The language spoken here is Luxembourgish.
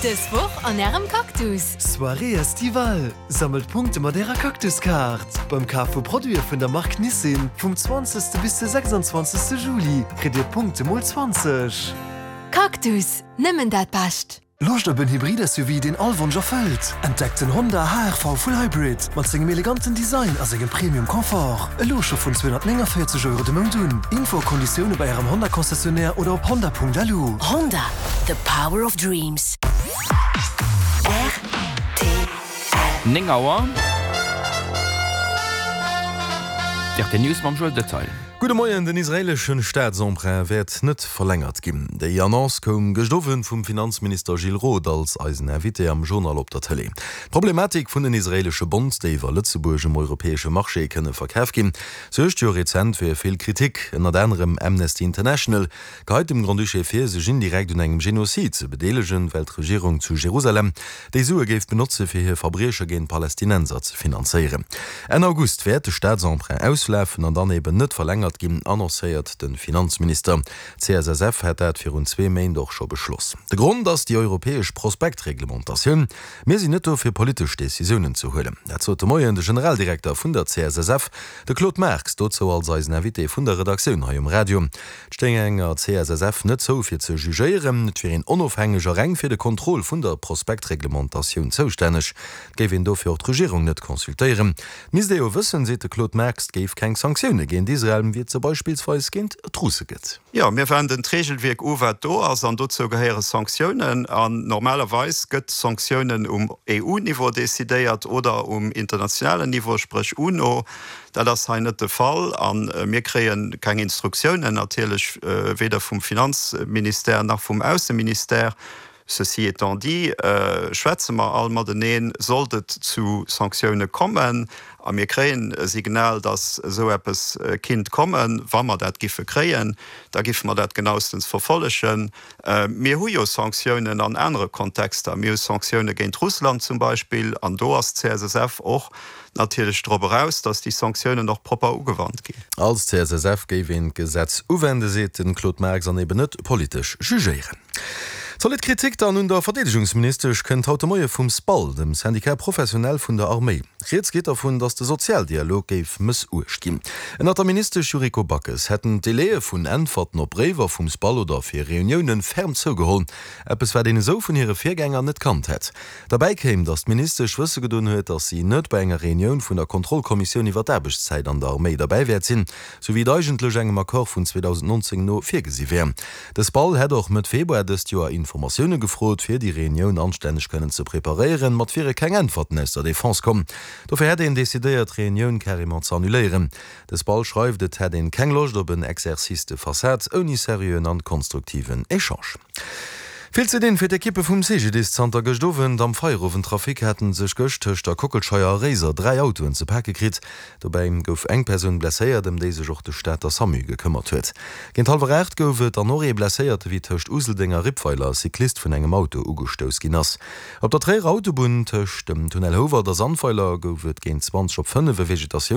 Dës Woch an Ärem Cactus! Soirée Estivale, Sammelt Punkte mat Ärer Cactus-Kaart! Beim Kaf vu Produite vun der Mark Nissin vum 20. bis de 26. Juli kritt Dir Punkte mol 20. Cactus, nëmmen dat Bescht! Loscht op en Hybrid-SUV, deen all Wonsch erfëllt? Entdeckt den Honda HR-V Full Hybrid mat sengem eleganten Design a sengem Premium Confort. Elo scho vun 249 Euro de Mount un. Info a Konditioune bei Ärem Honda-Concessionnaire oder op honda.lu. Honda, the power of dreams. Rtl. 9 Auer. D'RTL News mam Joël Detail. Gudde Moien, Den israeeleschen Staatsemprunt wäert net verlängert ginn. Déi Annonce koum gëscht Owend vum Finanzminister Gilles Roth als eisen Invité am Journal op der Tëlee. D'Problematik vun den israeelesche Bonds, déi iwwer Lëtzebuerg um europäesche Marché kënne verkaf ginn, suergt jo rezent fir vill Kritik. Ënnert anerem Amnesty International geheit dem Grand-Duché vir, sech indirekt un engem Genozid ze bedeelegen, well d'Regierung zu Jerusalem déi Sue géif benotze fir hir Verbrieche géint Palästinenser ze finanzéieren. Enn August wäert de Staatsemprunt auslafen an dann eben net verlängert ginn, annoncéiert de Finanzminister. D'CSSF hätt dat virun zwee Méint och scho beschloss. De Grond ass déi europäesch Prospektreglementatioun. Mir sinn net do fir politesch Decisiounen ze huelen. Dat sot de Moien de Generaldirekter vun der CSSF, de Claude Marx, dozou als eisen Invité vun der Redaktioun hei um Radio. Et stéing enger CSSF net zou fir ze jugéieren, et wier een onofhängeg a reng fir de Contrôle vun der Prospektreglementatioun zoustänneg. Et géif een dofir och d'Regierung net consultéieren. Et misst ee jo wëssen, seet de Claude Marx, et géif keng Sanktioune géint Israel, wéi et se beispillsweis géint d'Russe gëtt. Jo, mir wenden d'Regelwierk u wat do ass, an dozou gehéiere Sanktiounen. An normalerweis gëtt Sanktiounen um EU-Niveau decidéiert oder um internationalen Niveau, spréch UNO. Dat ass hei net de Fall a mir kréie keng Instruktiounen natierlech, weder vum Finanzministère nach vum Ausseministère. Ceci étant dit, schwätze mer all mateneen, sollt et zu Sanktioune kommen, a mir kréien e Signal, datt esou eppes kinnt kommen, wa mer dat giffe kréien, da giffe mer dat genaustens verfollegen. Mir hu jo Sanktiounen an anere Kontexter. Mir hu Sanktioune géint Russland zum Beispill, an do ass d'CSSF och natierlech drop eraus, datt déi Sanktiounen och propper ugewannt ginn. Als CSSF géif een d'Gesetz uwenden, seet de Claude Marx, an eben net politesch jugéieren. Zolidd Kritik dann un der Verdeedegungsministesch kënnt haut de Moie vum SPAL, dem Syndicat professionnel vun der Arméi. Rieds geet dervun, datt de Sozialdialog géif mëssuecht ginn. Ënnert der Ministesch Yuriko Backes hätten d'Délaië vun Äntwerten op Bréiwer vum SPAL oder fir Reunioune ferm zougeholl. Eppes wat een esou vun hire Virgänger net kannt hätt. Derbäi kéim, datt d'Ministesch wësse gedoen huet, datt si net bei enger Reunioun vun der Kontrollkommissioun iwwer d'Aarbechtszäit an der Arméi derbäi wäert sinn, sou wéi et eigentlech engem Accord vun 2019 no virgesi wär. De SPAL hätt och Mëtt Februar dëst Joer Informatioune gefrot, fir déi Reunioun anstänneg kënnen ze preparéieren, ma et wiere keng Äntwerten aus der Defense komm. Dofir hätt een decidéiert, d'Reunioun carrément ze annuléieren. De SPAL schreift, et hätt een keng Loscht op en Exercice de façade ouni seriöen an konstruktiven Echange. Vill ze dinn fir d'Ekippe vum CGDIS. Zanter gëscht Owend am Feierowendtrafic haten sech gëscht tëscht der Kockelscheier a Réiser 3 Autoen ze pake kritt. Dobäi gouf eng Persoun blesséiert, ëm déi sech och de Stater Samu gekëmmert huet. Géint hallwer 8 gouf et dann och ee Blesséierte wéi tëscht Useldeng a Rippweiler e Cyclist vun engem Auto ugestouss ginn ass. Op der Tréierer Autobunn tëscht dem Tunnel Houwald a Sandweiler gouf et géint 20 op 5 e Vegetatiouns.